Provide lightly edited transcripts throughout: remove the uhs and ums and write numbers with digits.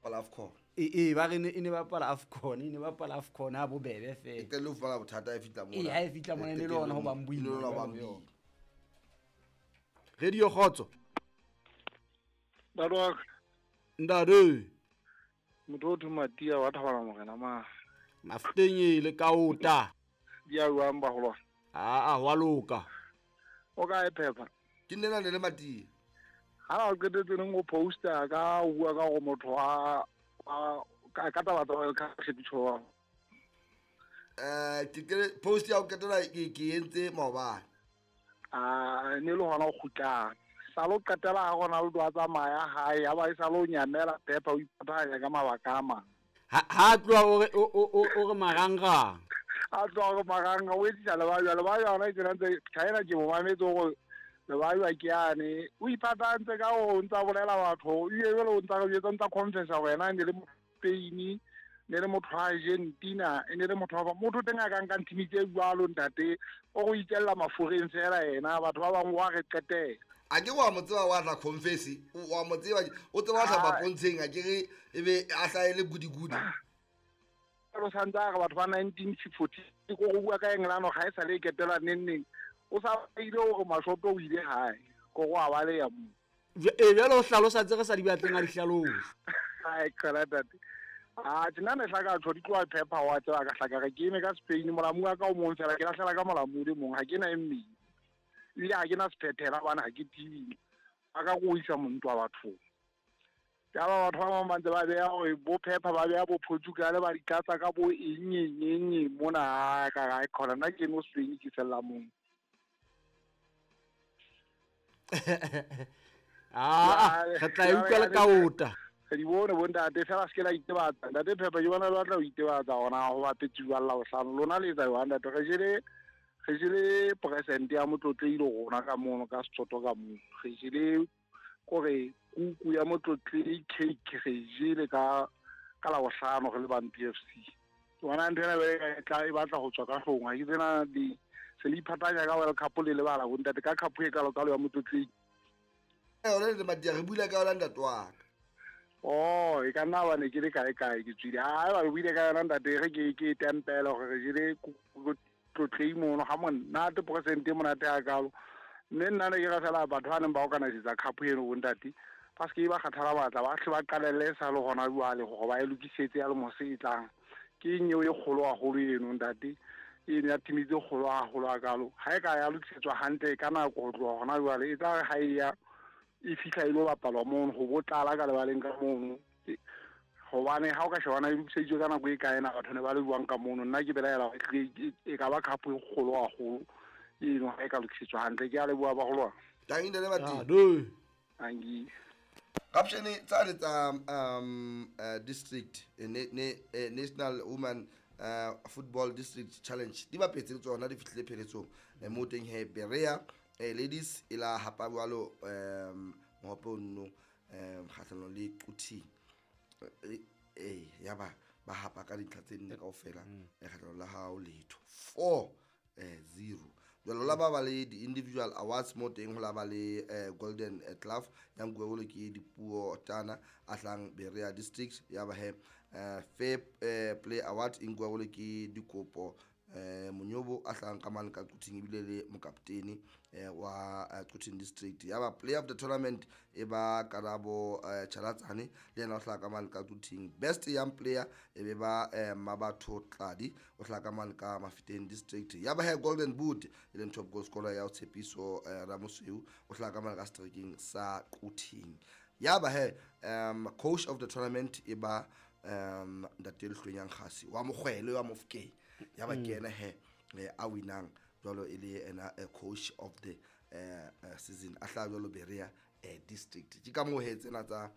Bapala AFCON. Ee, ba re e ne bapala AFCON, e ne bapala AFCON ha bobebe E fela. qetelle ho fumana bothata e fihla mona. Ee, ha e fihla mona, e ne le hona ho bang boima E ne le hona ho bang jwalo. boima. Radio Kgotso. Ntate wa ka. Ntate. Motho o thwe Matia wa Thabana Morena ma. Mafuteng e le kaota. Di a jwang baholwane? Aa, wa loka. O kae Phepha? Ke nna le Matia. Ha o qetetse neng o poster ka o bua ka hore motho wa ka taba tsa World Cup tshepetso. Ke post ya ho qetela ke entse maobane. Ah, ne le hona o kgutlang. Sa lo qetela ha Ronaldo a tsamaya hae, ya ba e sa lo nyamela Phepha o ipatanya ka mabaka a mang. Ha tloha o re marangrang. A tloha o re marangrang, o etsisa lebajwa, lebajwa hona e tsena ntse China ke mo mametse hore lebajwa ke yane. O ipatantse ka hore o ntsa bolela batho, ebile jwale o ntsa re jwetsa, o ntsa confessa hore yena ne le Spain, ne le motho wa Argentina, e ne le motho wa motho teng a ka nkang team tse jwalo ntate, o go itjella mafureng fela yena, batho ba bang wa re qetela. A ke wa mo tseba wa tla confess, wa mo tseba, o tseba wa hlapa pontsheng, a ke re ebe a hlaele gudi-gudi. Lo santse a re batho ba 1940 ko go bua ka England ga e sa le e ketela neng neng. O sa ile hore mashoto o ile hae, ko go a baleya mo. E jwale o hlalosa tse re sa di batleng a di hlalose. Ai, qala tate. Ah, tjena ne hlaka tjho di tloha Phepha wa tseba ka hlaka re ke eme ka Spain, molamu wa ka o mong fela ke lahlela ka molamu le mong, ha ke na e mmedi. Ebile ha ke na sephethela hobane ha ke tiile. A ka go isa montwa bathong. Ya ba batho ba bang ba ntse ba beha hore bo Phepha ba beha bo Portugal ba di tlatsa ka bo eng, eng, eng, eng mona, ha ka ra e khona. Nna ke no Spain ke fella mong. Ah, re tla e utlwa le kaota. Re di bone bo ntate, fela se ke la itebatsa. Ntate Phepha ke bona le batla ho itebatsa hona ho bapetse jwang la bohlano. Lona le etsa jwang ntate? Re jele presente ya motlotlehile rona ka mono, ka Setsotho ka mono. Re jele kore kuku ya motlotlehile cake, re jele ka la bohlano re le bang PFC. Ke bona ntho ena e tla e batla ho tswa ka hloohong. Ha ke tsena di se le iphatanya ka World Cup le lebala bo ntate ka cup e kalo kalo ya motlotlehile. Yona le Matia re buile ka yona ntate wa ka. Oh, e ka nna ba ne ke le kae kae ke tswile. Ha ba buile ka yona ntate, re ke tempele hore re jele tlotlei mono ha monate presente monate ha kalo. Mme nna ne ke re fela batho ba neng ba organise-tsa cup eno bo ntate, ba se ke ba kgathala matla, ba hle ba qalelle sa le hona jwale hore ba e lokisetse ya le mose e tlang. Ke eng eo e kgolo haholo eno ntate? Eno ya team tse kgolo haholo ha kalo. Ha e ka ya lokisetswa hantle ka nako ho tloha hona jwale, e tla re ha e ya e fihla e lo bapalwa mono, ho bo tlala ka lebaleng ka mono. Hobane ha o ka shebana e lokiseditswe ka nako e kae na batho ne ba le jwang ka mono. Nna ke belaela hore e ka ba cup e kgolo haholo eno ha e ka lokisetswa hantle. Ke a leboha bagolwane. Tangi ntate Matia. Ah, do. Tangi. Caption tsa le tsa, district, National Women, Football District Challenge di bapetse le tsona di fihlile pheletsong. Mo teng he Berea, ladies e la hapa jwalo, mohope ono, kgahlanong le Quthing. Ya ba hapa ka dintlha tse nne kaofela, kgahlanong la hao letho. 4, 0. Jwalo la ba ba le di-individual awards mo teng, ho la ba le, Golden Glove ya nkuwe jwalo ke Dipuo Tana a hlang Berea District. Ya ba he, Fair, Play Award e nkuwe jwalo ke Dikopo, Monyobo a hlang ka mane ka Quthing ebile le mokaptene, wa, Quthing District. Ya ba Player of the Tournament e ba Karabo, Chalatsane le yena o hlaha ka mane ka Quthing. Best Young Player e be ba, Mabatho Tladi o hlaha ka mane ka Mafeteng District. Ya ba he Golden Boot e leng top goal scorer ya Tshepiso, Ramosweu o hlaha ka mane ka seterekeng sa Quthing. Ya ba he, coach of the tournament e ba, Ntate Lehlwenyang Kgasi wa Mokgwele wa Mofokeng. Ya ba ke yena he, a winang jwalo e le yena, coach of the, season a hlaha jwalo Berea, District. Ke ka moo he tsena tsa,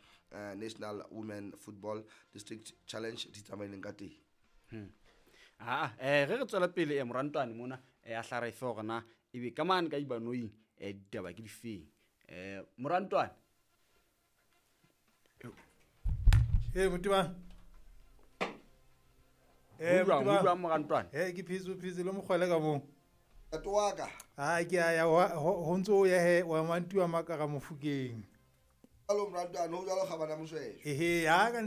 National Women Football District Challenge di tsamaileng ka teng. Ah, re tswela pele, morantwane mona, a hla re fe hore na ebe ka mane ka Ibanoing, ditaba ke difeng. Morantwane. Motiba. Ho Motiba. jwang, morantwane? Ke phetse le mokgwele ka moo. Ntate wa ka. Ha, ke a ya, ho ntso o ya he, wa mantuwa makara Mofokeng. Jwalo morantwane, ho jwalo kgabana Mosweswe. Ehe, ha ka ne